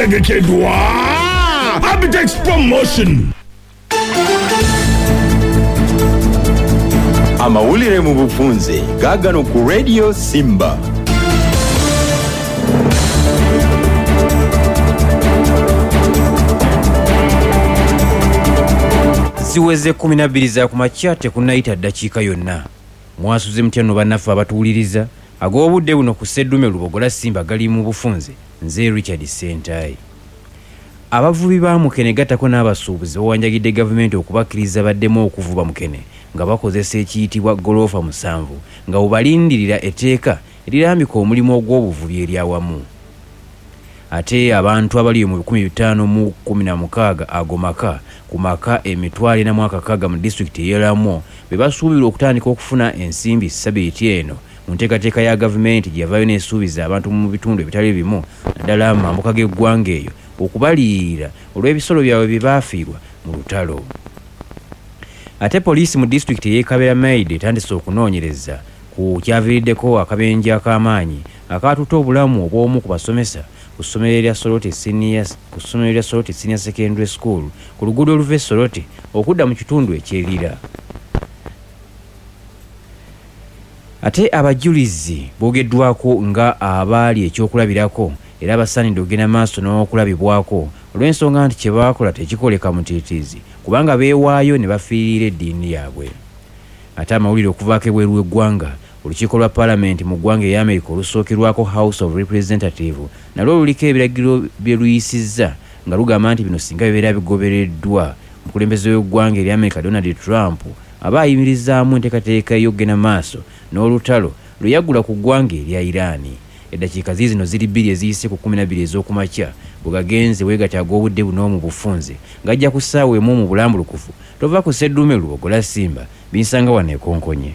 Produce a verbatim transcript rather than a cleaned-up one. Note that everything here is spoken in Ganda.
Tegekeddwa Abitex Promotion. Amawulire mu bufunze gaagano ku Radio Simba. Ziweze kumi na bbiri za kumakya tekunnayita ddakiika yonna. Mwasuze mutya nno bannaffe abatuwuliriza? Ag'obudde buno ku Sseddume Lubogola Simba gali mu bufunze. Nze Richard Ssentayi. Abavubi ba mukene gattako n'abasuubuzi bawanjagidde gavumenti okubakkiriza baddemu okuvuba mukene nga bakozesa ekiyitibwa ggoloofa musanvu nga bwe etteeka erirambika omulimu ogw'obuvubi eryawamu. Ate abantu abali mu bikumi bitaano mu kkumi na mukaaga ago maka ku maka emitwalo ena mu akakaaga mu disitulikiti ey'e Lamwo be basuubirwa okutandika okufuna ensimbi ssabbiiti eno mu nteekateeka ya gavumenti gye yavaayo n'esuubiza abantu mu bitundu ebitali bimu naddala mu mambuka g'eggwanga eyo okubaliyirira olw'ebisolo byabwe bye baafiirwa mu lutalo. Ate poliisi mu disitulikiti ey'e Kaberamaido etandise okunoonyereza ku kyaviiriddeko akabenje ak'amaanyi akaatutte obulamu obw'omu ku basomesa ku ssomero erya Soroti Senior ku ssomero lya Soroti Senior Secondary School ku luguudo oluva e Soroti okudda mu kitundu eky'e Lira. Ate abajulizi boogeddwako nga abaali ekyokulabirako era abasaanidde okugenda maaso n'okulabibwako olw'ensonga nti kye baakola tekikoleka mutiitiizi kubanga beewaayo ne bafiirira eddiini yaabwe. Ate amawulire okuvaako ebweru w'eggwanga, olukiiko lwa paalamenti mu ggwanga erya Amerika olusookerwako House of Representative nalwo luliko ebiragiro bye luyisizza nga lugamba nti bino singa bibeera bigobereddwa omukulembeze w'eggwanga erya Amerika Donald Trump aba ayimirizaamu enteekateeka ey'okugenda maaso n'olutalo lwe yaggula ku ggwanga erya Iran. Eddakiika ziizino ziri bbiri eziyise ku kkumi na bbiri ez'okumakya bwe gagenze weegatta ag'obudde buno mu bufunze ng'ajja ku ssaawa emu mu bulambulukufu. Tova ku Sseddume Lubogola Simba binsanga wano ekonkonye.